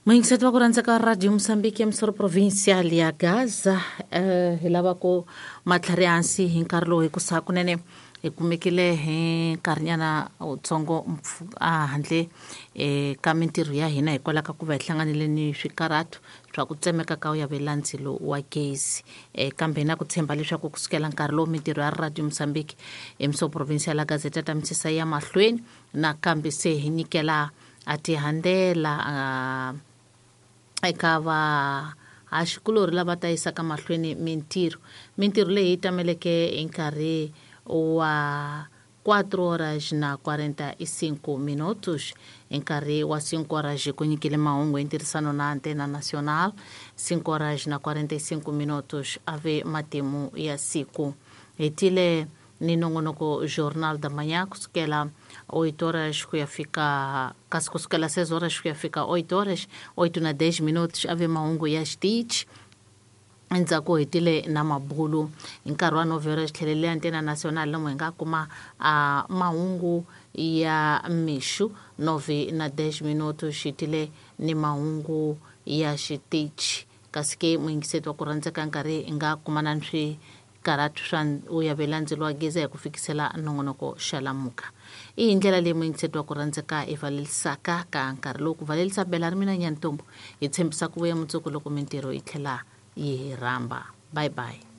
Muyingiseti wa ku rhandza ka Radio Mozambique ya Misoro Provincial ya Gaza, hi lava ku matlhari hansi hi nkarhi lowu, hikusa kunene hi kumekile hi nkarhinyana wutsongo a handle ka mintirho ya hina hikwalaho ka ku va hi hlanganile ni swikarhato swa ku tsemeka ka ya vela ndzilo wa gezi. Kambe hi na ku tshemba leswaku kusukela nkarhi lowu mintirho ya Radio Mozambique eMisoro Provincial ya Gaza ta misisa ya mahlweni, nakambe se hi nyikela a tihandela eka vahaxikulorhi lava ta yisaka mahlweni mintirho. Mintirho leyi yi tameleke hi nkarhi wa 4 horas na 45 minutos. Hi nkarhi wa 5 horas ku nyikile mahungu hi ntirhisano na Antena Nacional. 5 horas na 45 minutos ave matimu ya siku. Hetile ni nongonoko Jornal da Manhã kusukela 8 horas ku ya fika, kasi kusukela 6 horas ku ya fika 8 horas, 8 na 10 minutos ave mahungu ya xitichi. Endzhaku hetile na mabulu. Hi nkarhi wa 9 horas tlhelele Antena Nacional, lomu hi nga kuma a mahungu ya mixu. 9 na 10 minutos xitile ni mahungu ya xitichi. Kasi ke muyingiseti wa ku rhandzeka, nkarhi hi nga kumana ni swikarhatu swa u ya vela ndzilo wa gezi hi ku fikisela nongonoko Xalamuka. I hi ndlela leyi, muyingiseti wa ku rhandzeka, hi valelisaka ka nkarhi lowu. Ku valelisa bela ri mina Nyantombo, hi tshembisa ku vuya mundzuku loko mintirho yi tlhela yi hi rhamba. Bye bye.